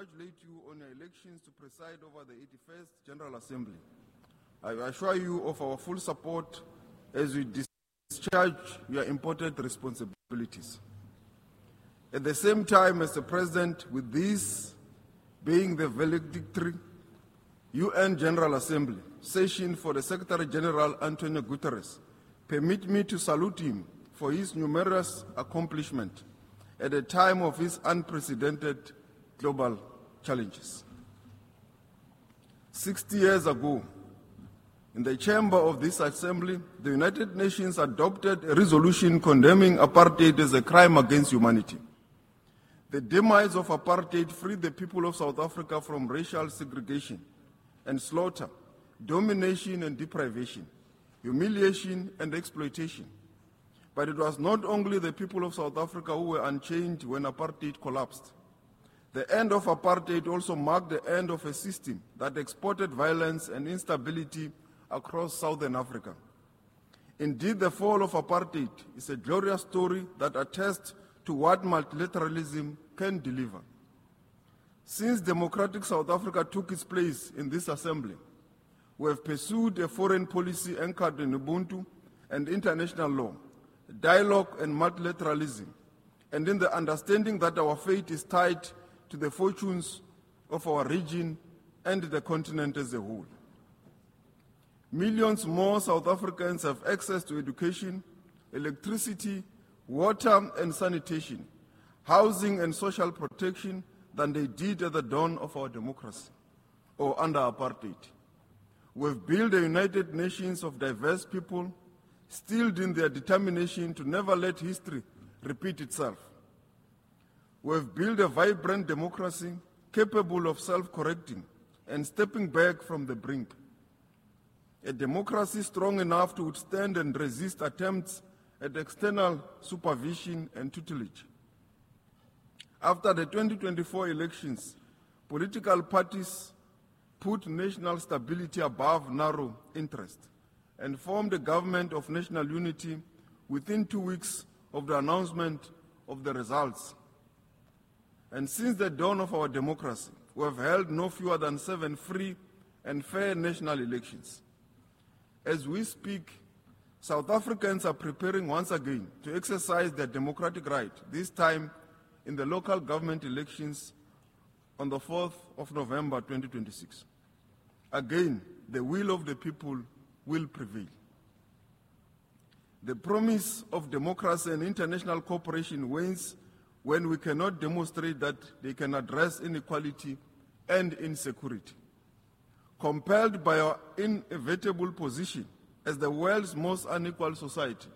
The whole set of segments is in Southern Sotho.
congratulate you on your elections to preside over the 81st General Assembly. I assure you of our full support as you discharge your important responsibilities. At the same time, Mr. President, with this being the valedictory UN General Assembly session for the Secretary General Antonio Guterres, permit me to salute him for his numerous accomplishments at a time of his unprecedented global challenges. 60 years ago, in the chamber of this assembly, the United Nations adopted a resolution condemning apartheid as a crime against humanity. The demise of apartheid freed the people of South Africa from racial segregation and slaughter, domination and deprivation, humiliation and exploitation. But it was not only the people of South Africa who were unchained when apartheid collapsed. The end of apartheid also marked the end of a system that exported violence and instability across Southern Africa. Indeed, the fall of apartheid is a glorious story that attests to what multilateralism can deliver. Since democratic South Africa took its place in this assembly, we have pursued a foreign policy anchored in Ubuntu and international law, dialogue and multilateralism, and in the understanding that our fate is tied to the fortunes of our region and the continent as a whole. Millions more South Africans have access to education, electricity, water and sanitation, housing and social protection than they did at the dawn of our democracy or under apartheid. We've built a United Nations of diverse people, steeled in their determination to never let history repeat itself. We've built a vibrant democracy capable of self-correcting and stepping back from the brink. A democracy strong enough to withstand and resist attempts at external supervision and tutelage. After the 2024 elections, political parties put national stability above narrow interest and formed a government of national unity within 2 weeks of the announcement of the results. And since the dawn of our democracy, we have held no fewer than 7 free and fair national elections. As we speak, South Africans are preparing once again to exercise their democratic right, this time in the local government elections on the 4th of November 2026. Again, the will of the people will prevail. The promise of democracy and international cooperation wanes when we cannot demonstrate that they can address inequality and insecurity. Compelled by our inevitable position as the world's most unequal society,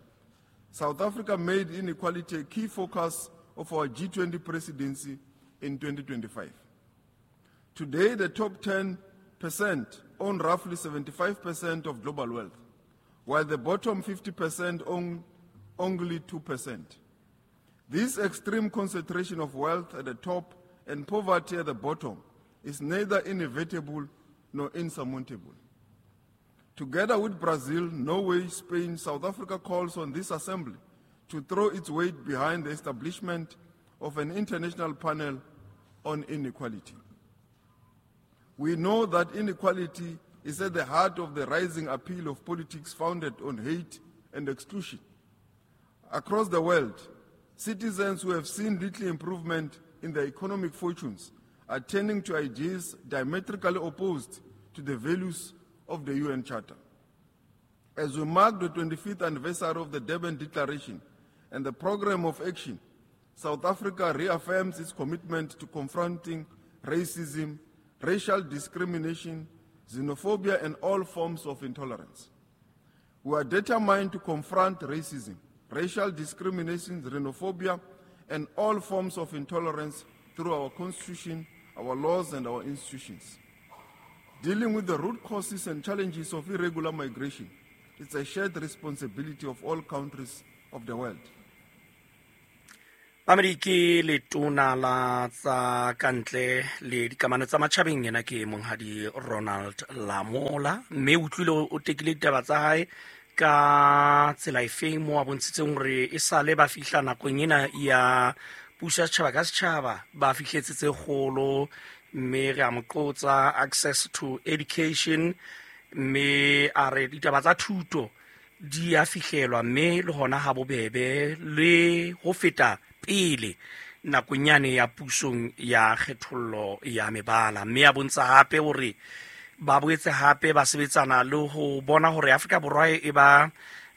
South Africa made inequality a key focus of our G20 presidency in 2025. Today, the top 10% own roughly 75% of global wealth, while the bottom 50% own only 2%. This extreme concentration of wealth at the top and poverty at the bottom is neither inevitable nor insurmountable. Together with Brazil, Norway, Spain, South Africa calls on this assembly to throw its weight behind the establishment of an international panel on inequality. We know that inequality is at the heart of the rising appeal of politics founded on hate and exclusion. Across the world, citizens who have seen little improvement in their economic fortunes are turning to ideas diametrically opposed to the values of the UN Charter. As we mark the 25th anniversary of the Durban Declaration and the Programme of Action, South Africa reaffirms its commitment to confronting racism, racial discrimination, xenophobia, and all forms of intolerance. We are determined to confront racism, racial discrimination, xenophobia, and all forms of intolerance through our constitution, our laws, and our institutions. Dealing with the root causes and challenges of irregular migration is a shared responsibility of all countries of the world. Mamedi ke letona la tsa kantle le dikamano tsa matjhabeng, yena ke monghadi Ronald Lamola, mme o utlwile o tekile ditaba tsa hae ka tsela efeng mo a bontshitseng hore e sale ba fihla nakong ena ya Puso ya setjhaba ka setjhaba ba fihletse tse kgolo, mme re a mo qotsa access to education, mme a re ditaba tsa thuto di a fihlelwa mme le hona ha bobebe le ho feta pele nakong yane ya pusong ya kgethollo ya mebala. Mme a bontsha hape hore ba boetse hape ba sebetsana le ho bona hore Afrika Borwa e ba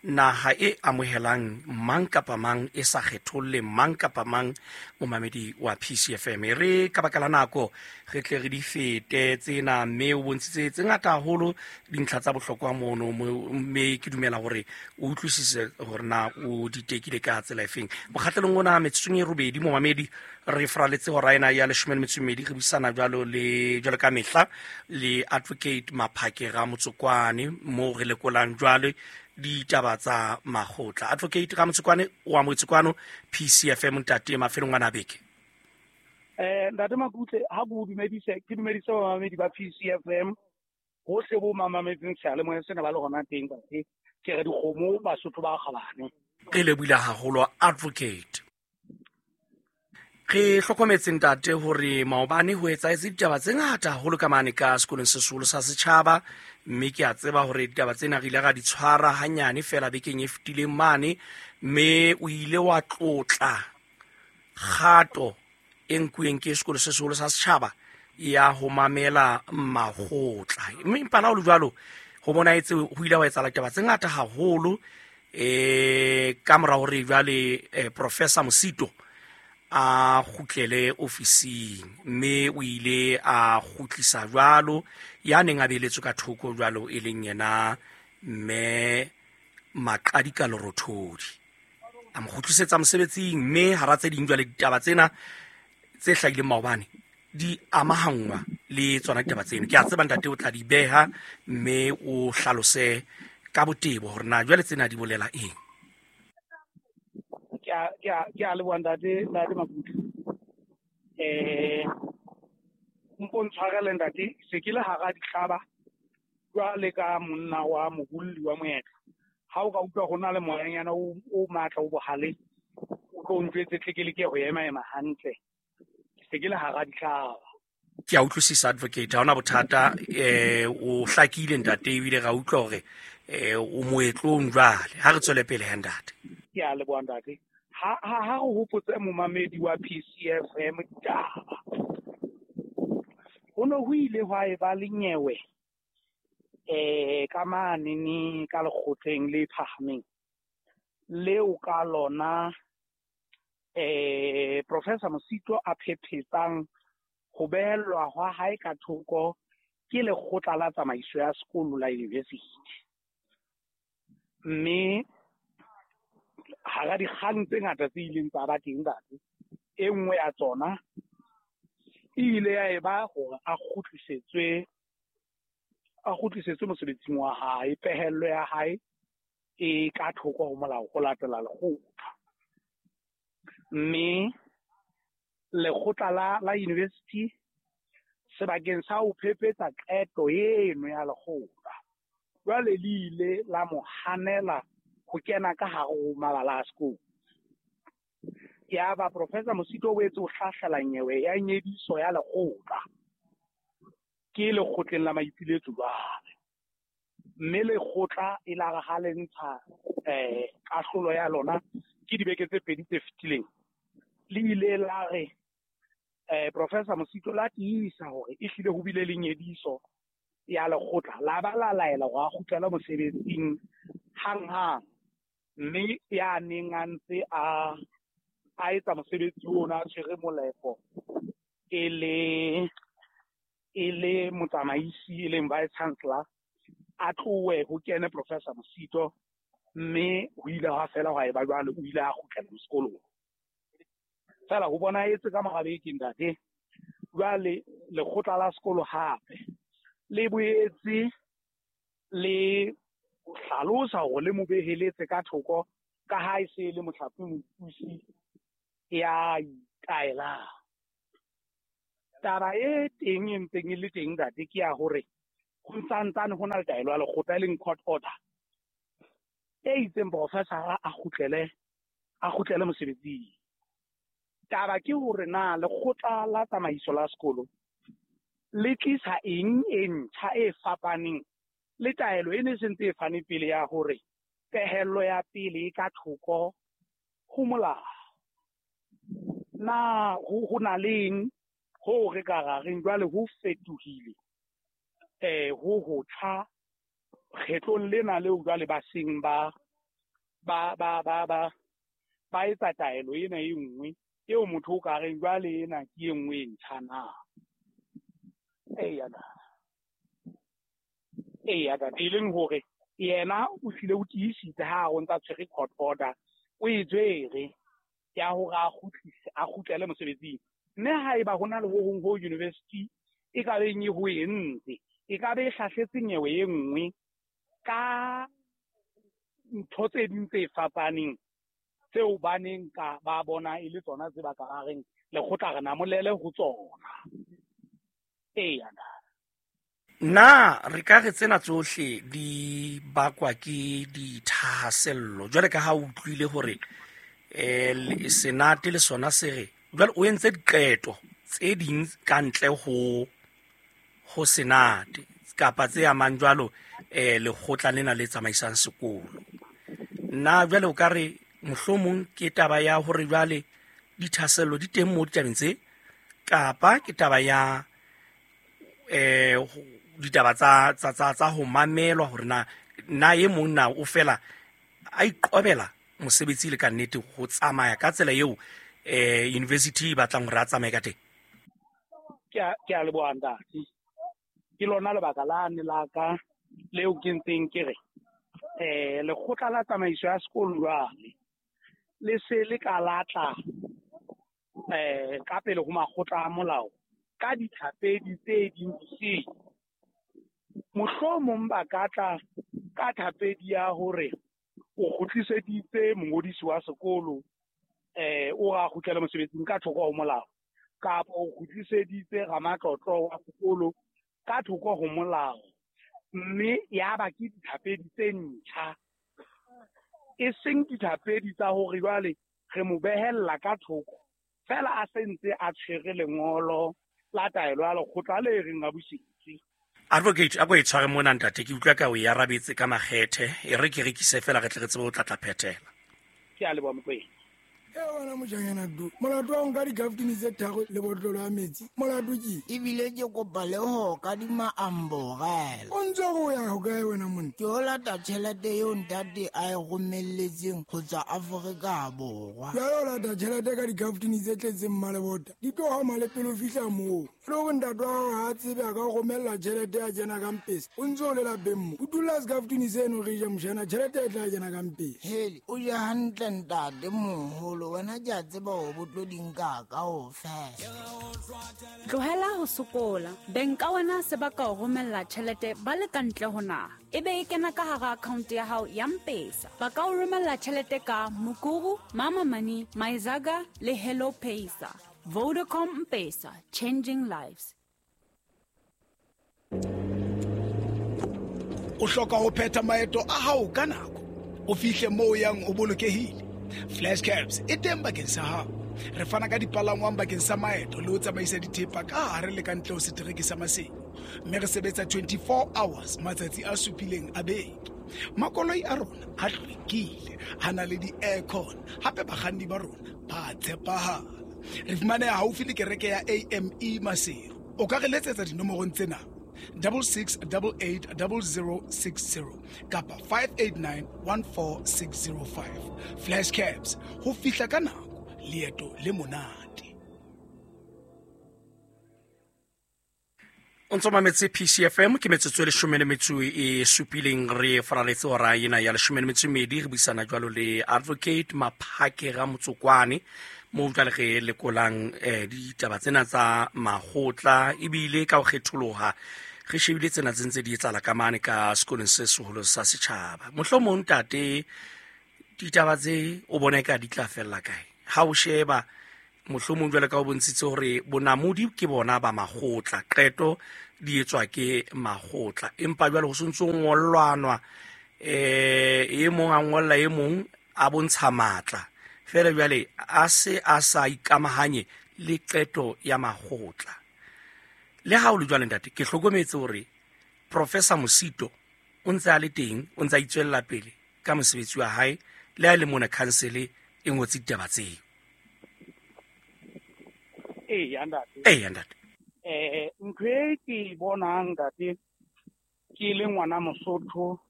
naha e amohelang mang kapa mang, e sa kgetholle mang kapa mang. Momamedi wa PCFM, e re ka baka la nako re tle re di fete tsena, mme o bontshitse tse ngata haholo dintlha tsa bohlokwa mono, mme ke dumela hore o utlwisise hore na o di tekile ka tsela efeng. Mokgatlelong ona metsotsong e robedi, momamedi, re fraletse hora ena ya 12, re buisana jwalo le jwalo ka mehla le Advocate Maphake Ramotsokwane, moo re lekolang jwale ditaba tsa makgotla. Advocate Ramotsokwane, o amohetse kwano PCFM, ntate, mafelong ana a beke. Ntate Makutle, ha ke o dumedise, ke dumedise bamamedi ba PCFM hohle bo mamametseng seyalemoya sena ba le hona teng. Ntate, ke re dikgomo Basotho ba kgabane. Re lebohile haholo, Advocate. Re hlokometse, ntate, hore maobane ho etsahetse ditaba tse ngata haholo ka mane ka sekolong se seholo sa setjhaba, mme ke a tseba hore ditaba tsena re ile ra di tshwara hanyane fela bekeng e fetileng mane, mme o ile wa tlotla kgato e nkuweng ke sekolo se seholo sa setjhaba ya ho mamela makgotla. Mme empa la ho le jwalo, ho bonahetse ho ile wa etsahala ditaba tse ngata haholo ka mora hore jwale Professor Mosito a kgutlele ofising, mme o ile a kgutlisa jwalo ya neng a beeletswe ka thoko jwalo, e leng yena mme Maqadi ka Lerothodi, a mo kgutlisetsa mosebetsing. Mme hara tse ding jwale ditaba tsena tse hlahileng maobane di amahangwa le tsona ditaba tseno. Ke a tseba, ntate, o tla di beha mme o hlalose ka botebo hore na jwale tsena di bolela eng. Ke a leboha, ntate Makutle. Mpo ntshwarele, ntate, se ke le hara dihlaba jwale ka monna wa mobolli wa moetlo. Ha o ka utlwa ho na le moyanyana o matla o bohale, o tlo njwetse tle ke leke ho ema ema hantle. Ke se ke le hara dihlaba. Ke a utlwisisa, Advocate, ha hona bothata. O hlakile, ntate, ebile ra utlwa hore o moetlong. Jwale ha re tswele pele he, ntate. Ke a leboha, ntate. Ha re hopotse momamedi wa PCFM ditaba. Ho no ho ile hwa eba le nyewe ka manene ka lekgotleng le phahameng leo ka lona Professor Mosito a phephetsang ho behellwa hwa hae ka thoko ke lekgotla la tsamaiso ya sekolo la university. Mme hara dikgang tse ngata tse ileng tsa ba teng, ntate, e nngwe ya tsona e ile ya eba hore a kgutlisetswe mosebetsing wa hae, pehello ya hae e ka thoko ho molao ho latela lekgotla. Mme lekgotla la university, sebakeng sa ho phephetsa qeto eno ya lekgotla, jwale le ile la mo hanela ho kena ka hare ho mabala a sekolo. Yaba Professor Mosito o boetse o hlahlela nyewe ya nyediso ya lekgotla ke lekgotleng la maipiletso jwale. Mme lekgotla e la re ha le ntsha kahlolo ya lona ke dibeke tse pedi tse fetileng, le ile la re Professor Mosito la tiisa hore ehlile ho bile le nyediso ya lekgotla, la ba la laela hore a kgutlele mosebetsing hanghang. Mme ya neng a ntse a etsa mosebetsi ona, a tshwere molepo e le motsamaisi, e leng vice chancellor, a tlohe ho kene Professor Mosito. Mme ho ile hwa fela hwa eba jwalo, o ile a kgutlela sekolong. Feela ho bonahetse ka mora beke, ntate, jwale lekgotla la sekolo hape le boetse le hlalosa hore le mo beheletse ka thoko ka ha e se le mohlape mopusi ya itaelang. Taba e teng e ntseng e le teng, ntate, ke ya hore ho ntsantane ho na le taelo ya lekgotla, e leng court order, e itseng professor a kgutlele mosebetsing. Taba ke hore na lekgotla la tsamaiso la sekolo le tlisa eng e ntjha e fapaneng le taelo e ne sentse e fane pele ya hore pehello ya pele e ka thoko ho molao. Na ho na leng ho re ka ra reng jwale ho fetohile ho hotjha kgetlong lena leo jwale ba seng ba etsa taelo ena e nngwe eo motho o ka reng jwale ena ke e nngwe e ntjha na. Eya e leng hore yena o hlile o tiisitse ha o ntsa tshwere court order, o e tshwere ya hore a kgutlele mosebetsing. Mme haeba ho na le ho hong ho university e ka beng e ho entse, e ka be e hlahletse nyewe e nngwe ka ntho tse ding tse fapaneng tseo ba neng ka ba bona e le tsona tse ba ka ba reng lekgotla re namolele ho tsona. Eya. Na re ka re tsena tsohle di bakwa ke dithahasello jwale ka ha o utlwile hore senate le sona se re jwale o entse diqeto tse ding ka ntle ho senate kapa tse amang jwalo lekgotla lena le tsamaisang sekolo. Na jwale o ka re mohlomong ke taba ya hore jwale dithahasello di teng mo ditabeng tse, kapa ke taba ya ditaba tsa ho mamelwa hore na e mong na o fela a iqobela mosebetsi le ka nnete ho tsamaya ka tsela eo university e batlang hore a tsamaye ka teng? Ke a leboha ntate. Ke lona lebaka lane la ka leo ke ntseng ke re lekgotla la tsamaiso ya sekolo jwale le se le ka latla ka pele ho makgotla a molao ka dithapedi tse ding disele. Mohlomong ba ka tla ka thapedi ya hore o kgutliseditse mongodisi wa sekolo o ra kgutlele mosebetsing ka thoko ho molao, kapa o kgutliseditse ramatlotlo wa sekolo ka thoko ho molao, mme ya ba ke dithapedi tse ntjha, e seng dithapedi tsa hore jwale re mo behella ka thoko fela a sentse a tshwere lengolo la taelo ya lekgotla le reng a busetse. Advocate, a ko e tshware mona ntate, ke utlwa ka o e arabetse ka makgethe, e re ke rekise fela re tle re tsebe ho tlatla phethela. Ke a leboha Mokwena. E wena mojanyana do, molato wa nka dikaftini tse tharo le botlolo ya metsi, molato ke ebile ke kopa le ho kadima amborela. O ntse o ya ho kae wena monna? Ke o lata tjhelete eo ntate a e romelletseng ho tswa Afrika Borwa. Jwale o lata tjhelete ka dikaftini tse tletseng mmalebota, di tlo hama le pele o fihla moo. Le hore ntate wa hao ha a tsebe a ka o romella tjhelete ya kena ka mpesa, o ntse o le lapeng mo. O dula sekaftini seno re ja mojana, tjhelete e tla kena ka mpesa. Hele, o je hantle ntate moholo, wena ke a tseba hore bo tlo di nka kaofela. Tlohela ho sokola. Beng ka wena se ba ka o romella tjhelete ba le ka ntle ho naha, e be e kena ka hara account ya hao ya M-Pesa. Ba ka o romella tjhelete ka Mukuru, Mama Money, Myzaga le Hello Pesa. Vodacom M-Pesa, changing lives. O hloka ho phetha maeto a hao ka nako, o fihle moo o yang o bolokehile. Flash Cabs e teng bakeng sa hao. Re fana ka dipalangwang bakeng sa maeto le ho tsamaisa dithepa ka hare le ka ntle ho setereke sa Maseru, mme re sebetsa 24 hours matsatsi a supileng a beke. Makoloi a rona a hlwekile, a na le di-aircon, hape bakganni ba rona ba tshepahala. Re fumaneha haufi le kereke ya AME Maseru. O ka re letsetsa dinomorong tsena: 6688 0060 kapa 589 14605. Flash Cabs, ho fihla ka nako, leeto le monate. O ntso mametse PCFM, ke metsotso e 17 re faraletse hora ena ya 12 re buisana jwalo le Advocate Maphake Ramotsokwane mo jwale re lekolang ditaba tsena tsa makgotla, ebile ka ho kgetholoha re shebile tsena tse ntse di etsahala ka mane ka sekolong se seholo sa setjhaba. Mohlomong ntate, ditaba tse o bona eka di tla fella kae? Ha o sheba mohlomong jwale ka o bontshitse hore bonamodi ke bona ba makgotla, qeto di etswa ke makgotla, empa jwale ho sontso ngollwanwa e mong a ngolla e mong a bontsha matla. Feela jwale a se a sa ikamahanye le qeto ya makgotla. Le ha o le jwale ntate, ke hlokometse hore Professor Mosito o ntse a le teng, o ntse a itswella pele ka mosebetsi wa hae, le ha e le mona khansele e ngotse ditaba tseo. Eya ntate. Eya ntate. Ntho e ke e bonang ntate, ke le ngwana Mosotho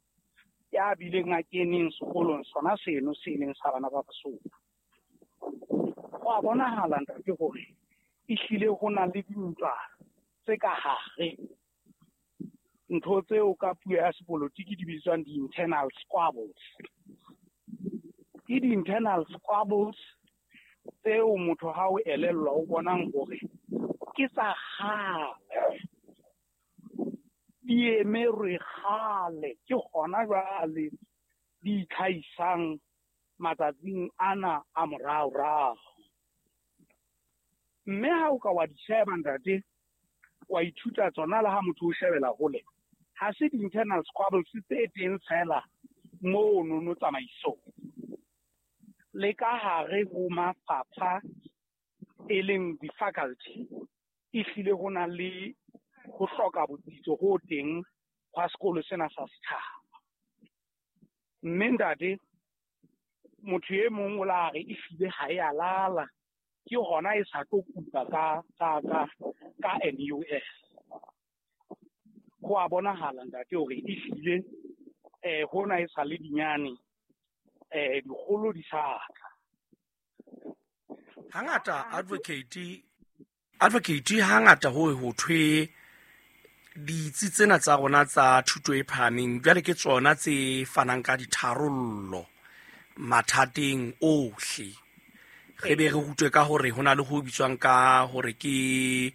ya bileng a keneng sekolong sona seno se leng sa bana ba Basotho. Go a bonahala ntate hore ehlile ho na le dintwa tse ka hare, ntho tseo ka puo ya sepolotiki di bitswang di-internal squabbles. Ke di-internal squabbles tseo motho ha o elellwa o bonang hore ke tsa kgale, di emerwe kgale, ke hona jwale di itlhahisang matsatsing ana a moraorao. Mme ha o ka wa di sheba ntate, wa ithuta tsona le ha motho o shebela hole, ha se di-internal squabbles tse teng fela mono no tsamaisong, le ka hare ho mafapha e leng di-faculty, ehlile ho na le ho hloka botsitso ho teng hwa sekolo sena sa setjhaba. Mme ntate, motho e mong o la re ehlile ha e a lala, ke hona e sa tlo kupa ka NUS. Ho a bonahala ntate hore ehlile hona e sa le dinyane, dikgolo di sa tla. Hangata advocate hangata ho thwe ditsi tsena tsa rona tsa thuto e phahameng jwale ke tsona tse fanang ka ditharollo mathateng ohle. Re be re rutwe ka hore ho na le ho bitswang ka hore ke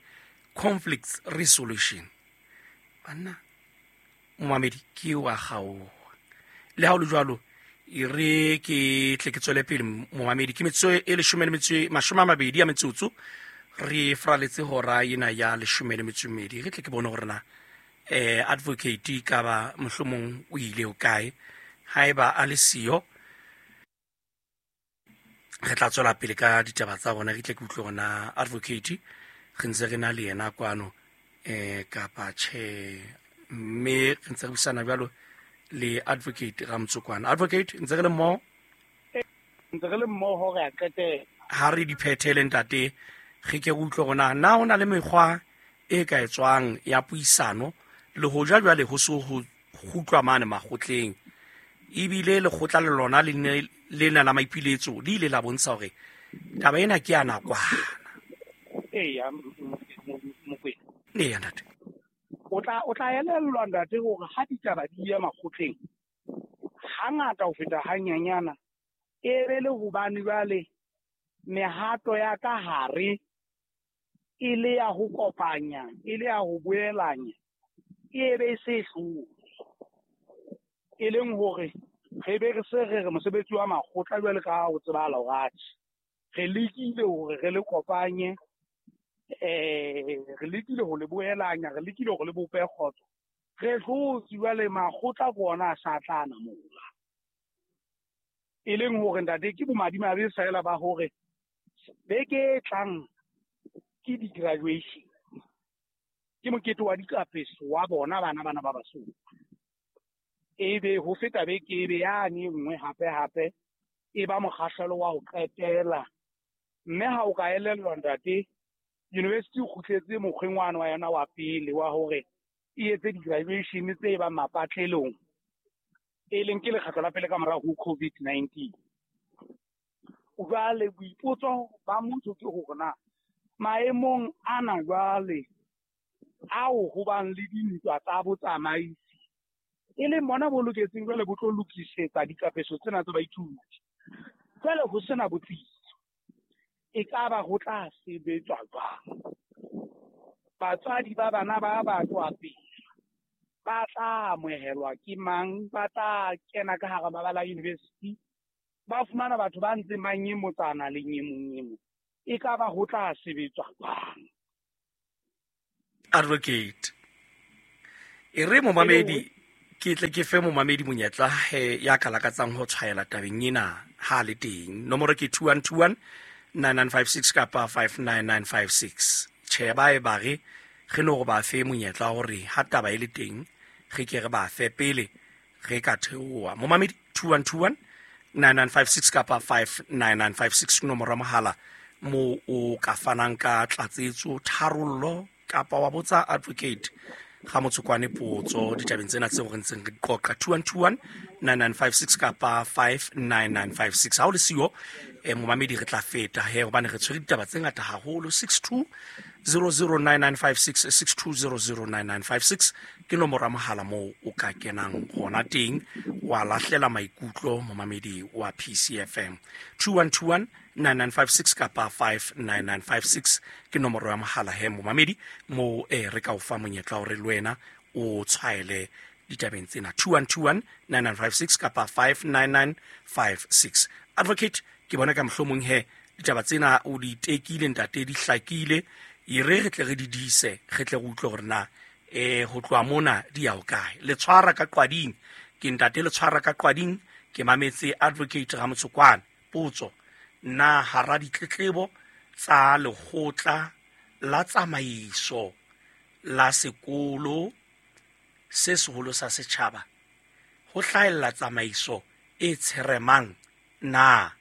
conflict resolution. Banna, momamedi ke wa kgaoha. Le ha ho le jwalo, e re ke tle ke tswele pele momamedi, ke metsotso e 12 ya metsotso, re fraletse hora ena ya 12. Re tle ke bone hore na advocate ka ba mohlomong o ile ho kae, haeba a le siyo re tla tswela pele ka ditaba tsa rona. Re tle ke utlwe hore advocate re ntse re na le yena kwano kapa tjhe, mme re ntse re buisana jwalo le advocate Ramtsokwana. Advocate, ntse re le mmoho? Ntse re le mmoho, re a qetela. Ha re di phethele ntate, re ke re utlwe hore na ho na le mekgwa e ka etswang ya puisano le hoja jwale ho so ho kgutlwa mane makgotleng, ebile lekgotla le lona le ne lena la maipiletso le ile la bontsha hore taba ena ke ya nakwana. Eya, Mokwena. Eya ntate. O tla elellwa ntate hore ha ditaba di ya makgotleng hangata ho feta hanyanyana, e be le hobane jwale mehato ya ka hare e le ya ho kopanya, e le ya ho boelanya, e be e se hlole. E leng hore re be re se re re mosebetsi wa makgotla jwale ka ha o tsebahala hore atjhe, re lekile hore re le kopanye, re lekile ho le boelanya, re lekile hore le bope kgotso, re hlotse jwale makgotla ke ona a sa tla namola. E leng hore ntate ke bomadimabe feela ba hore beke e tlang ke di-graduation, ke mokete wa dikapeso wa bona bana bana ba Basotho. Ebe ho feta beke ebe yane e nngwe hape hape e ba mokgahlelo wa ho qetela. Mme ha o ka elellwa ntate, university o kgutletse mokgweng wane wa yona wa pele wa hore e etse di-graduation tse bang mapatlelong, e leng ke lekgetlo la pele ka morao ho COVID-19. Jwale boipotso ba motho ke hore na maemong ana jwale ao ho bang le dintwa tsa botsamaisi, e leng bona bo loketseng jwale bo tlo lokisetsa dikapeso tsena tsa baithuti, jwale ho sena botsitso, e ka ba ho tla sebetswa jwang? Batswadi ba bana ba ba tswa pele ba tla amohelwa ke mang? Ba tla kena ka hara mabala a university, ba fumana batho ba ntseng ba nyemotsana le nyemonyemo, e ka ba ho tla sebetswa jwang? Advocate, e re momamedi Ke tle ke fe momamedi monyetla ya ka lakatsang ho tshwaela tabeng ena ha le teng. Nomoro ke 2121 9956 kapa 59956. Tjhe, ba e ba re re no re ba fe monyetla hore ha taba e le teng re ke re ba fe pele re ka theoha. Momamedi 2121 9956 kapa 59956 nomoro ya mohala mo o ka fanang ka tlatsetso, tharollo kapa wa botsa advocate ga Motshokwane potso ditabeng tsena tseo re ntseng re di qoqa. 2121 9956 kapa 59956. Ha o le siyo momamedi re tla feta he, hobane re tshwere ditaba tse ngata haholo. 62009956 62009956 ke nomoro ya mohala moo o ka kenang hona teng wa lahlela maikutlo momamedi wa PCFM. 2121 9956 kapa 59956 ke nomoro ya mohala he momamedi mo re ka o fa monyetla hore le wena o tshwaele ditabeng tsena. 2121 9956 kapa 59956. Advocate, ke bona ka mohlomong he ditaba tsena o di tekile ntate, di hlakile, e re re tle re di dise, re tle re utlwe hore na ho tloha mona di ya hokae. Le tshwara ka qwading ke ntate, le tshwara ka qwading ke mametse advocate Ramotsokwane. Potso: na hara ditletlebo tsa lekgotla la tsamaiso la sekolo se seholo sa setjhaba ho hlahella tsamaiso e tsheremang na?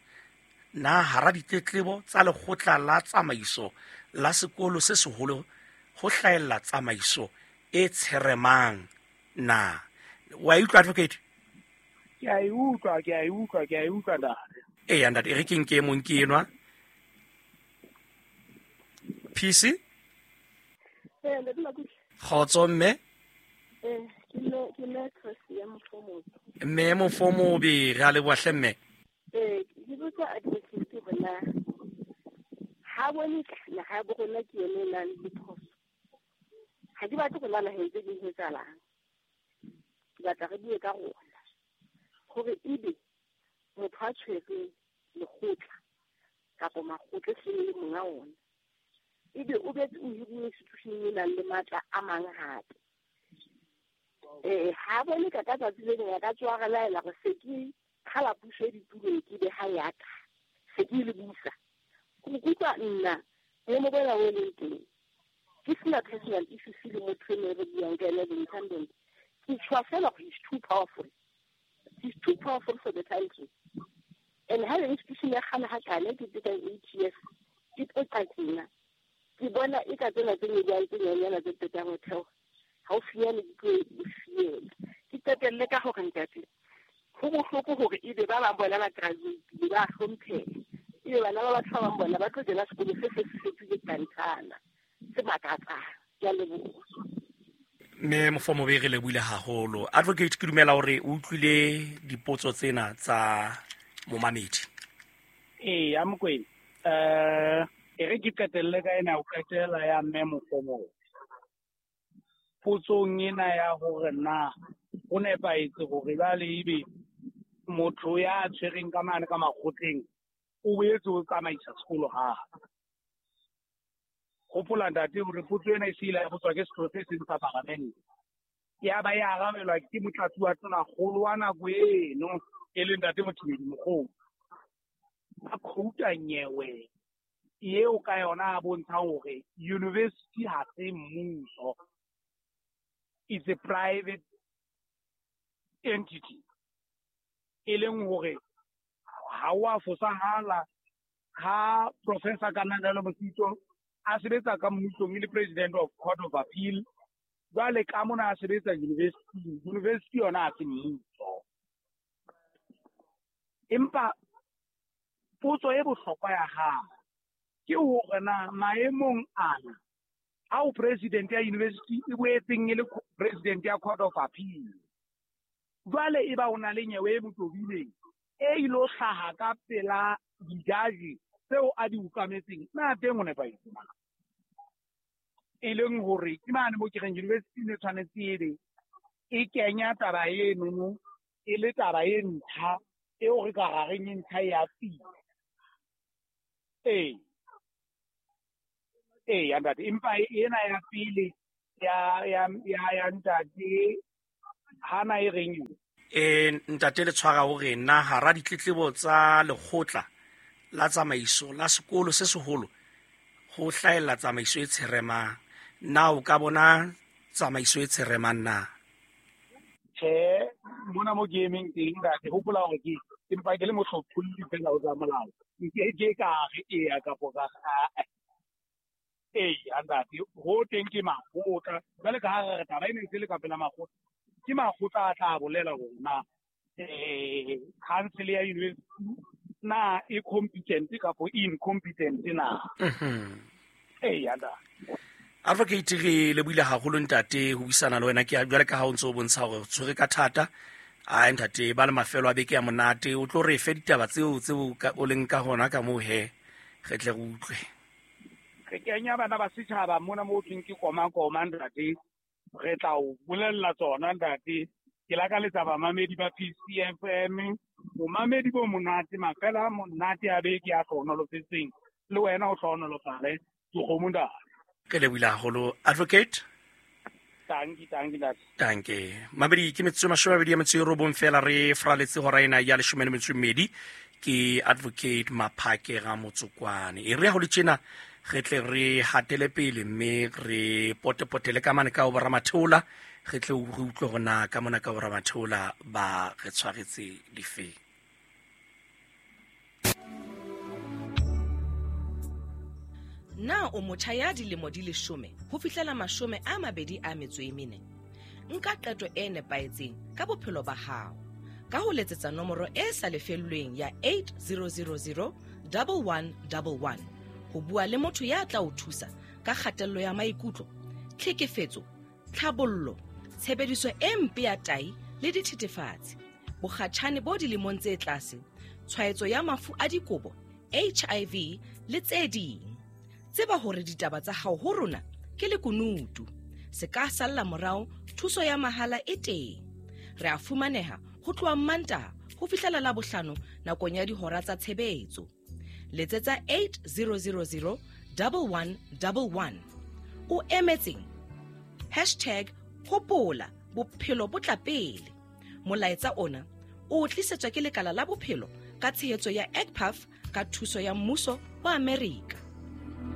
Na hara ditletlebo tsa lekgotla la tsamaiso la sekolo se seholo ho hlahella tsamaiso e tsheremang na? Wa utlwa advocate? Ke a e utlwa, ke a e utlwa, ke a e utlwa ntate. Eya ntate, e re ke nke e mong ke enwa. PC? Kgotso mme. Ke mme Tracy ya Mofomobe. Mme Mofomobe, re a leboha hle mme. Ke botsa advocate hore na ha bone naha ya bo rona ke yone e nang le phoso. Ha ke batle go nna naheng tse ding ho etsahalang. Ke batla re bue ka rona hore ebe motho a tshwereng lekgotla kapa makgotla e seng le monga ona, ebe o betse o hiruwe institution e nang le matla a mang hape. Ha bone ka ka tsatsi le leng a ka tsoha a re laela hore se ke qhala puso e ditulong ke be ha ya ka, se ke le busa. Go kutlwa nna boemo bona bo leng teng, ke sena personal issues le motho eno re buang ka ena, the incumbent. Ke tshwa fela gore he's too powerful. He's too powerful for the country. And ha institution ya kgale hakana ke teka 8 years, ke tlo tjena. Ke bona e ka tsena tse nyane tse nyane tse qetang ho theoha. Haufinyane di tlo e fiela. Ke qetelle ka hore ntate, ho bohloko hore ebe ba bang bona ba graduate, ba hlompheha. Ebe bana ba batho ba bang bona ba tlo kena sekolo se se fetohile tantana, se makatsang. Ke a leboha. Mme Mofomobe, re lebohile haholo. Advocate, ke dumela hore o utlwile dipotso tsena tsa momamedi. Ee, Mokwena. E re ke qetelle ka ena ho qetela ya mme Mofomobe. Potsong ena ya hore na ho nepahetse hore jwale ebe motho ya tshwereng ka mane ka makgotleng o boetse o tsamaisa sekolo hape. Hopola ntate hore potso ena e se ile ya botswa ke setho se seng sa paramente. Ya ba ya arabelwa ke motlatsi wa tonakgolo wa nako eno e leng ntate Mothibedi Mokgolo. A quote-a nyewe eo ka yona a bontshang hore university ha se mmuso, it's a private entity. E leng hore ha o a fosahala ha Professor Kananelo Mosito a sebetsa ka mmusong e le president of Court of Appeal, jwale ka mona a sebetsa university, university yona ha se mmuso. Empa potso e bohlokwa ya hao ke hore na maemong ana ao president ya university e boetseng e le president ya Court of Appeal, jwale e ba o na le nyewe e motobileng e ilo hlaha ka pela dijaji tseo a di ukametseng, na teng o nepahetse na? E leng hore ke mane mo ke reng university ne tshwanetse ebe e kenya taba enono e le taba e ntjha eo re ka ra reng e ntjha ya pele. Ee, ee ntate, empa ena ya pele ya ntate Hana e reng yona? E ntate le tshwara o re na hara ditletlebo tsa lekgotla la tsamaiso la sekolo se seholo ho hlahella tsamaiso e tsheremang. Na o ka bona tsamaiso e tsheremang na? Tjhe, mona mo ke emeng teng ntate, hopola hore ke empa ke le mohlopholli fela ho tsa molao. Nke ke ka re eya kapo ka re ee, ntate, ho teng ke makgotla. Jwale ka ha re re taba e ne ntse le ka pela makgotla, ke makgotla a tla bolela hore na council ya university na e competent kapo incompetent na. Ee, ntate. Advocate, re lebohile haholo ntate ho buisana le wena. Ke jwale ka ha o ntse o bontsha hore o tshwere ka thata. Ai ntate, ba le mafelo a beke ya monate, o tlo re fe ditaba tseo tseo o leng ka hona ka moo he, re tle re utlwe. Re kenya bana ba setjhaba mona mo thweng ke koma koma ntate, re tla o bolella tsona ntate. Ke lakaletsa bamamedi ba PCFM bomamedi bo monate, mafelo a monate a beke a hlohonolofetseng, le wena o hlohonolofale dikgomo ntate. Re lebohile haholo advocate. Tanki, tanki ntate. Tanke. Mabedi ke metsotso 29 fela re fraletse hora ena ya 12. Ke advocate Maphake Ramotsokwane. E re ha ho le tjena re tle re hatele pele mme re potepotele ka mane ka ho boramatheola, re tle re utlwe hore na ka mona ka boramatheola ba re tshwaretse difeng. Na o motjha ya dilemo di 10 ho fihlela 24? Nka qeto e nepahetseng ka bophelo ba hao ka ho letsetsa nomoro e sa lefellweng ya 8000 1111 ho bua le motho ya tla o thusa ka kgatello ya maikutlo, tlhekefetso, tlhabollo, tshebediso e mpe ya tai le dithethefatsi, bokgatjhane bo dilemong tse tlase, tshwaetso ya mafu a dikobo, HIV le tse ding. Tseba hore ditaba tsa hao ho rona ke lekunutu. Se ka salla morao, thuso ya mahala e teng. Re a fumaneha ho tloha Mantaha ho fihlela Labohlano nakong ya dihora tsa tshebetso. Letsetsa 8000 1111. O emetseng? Hashtag hopola bophelo bo tla pele. Molaetsa ona o tlisetswa ke lekala la bophelo ka tshehetso ya ECPAF ka thuso ya mmuso wa Amerika.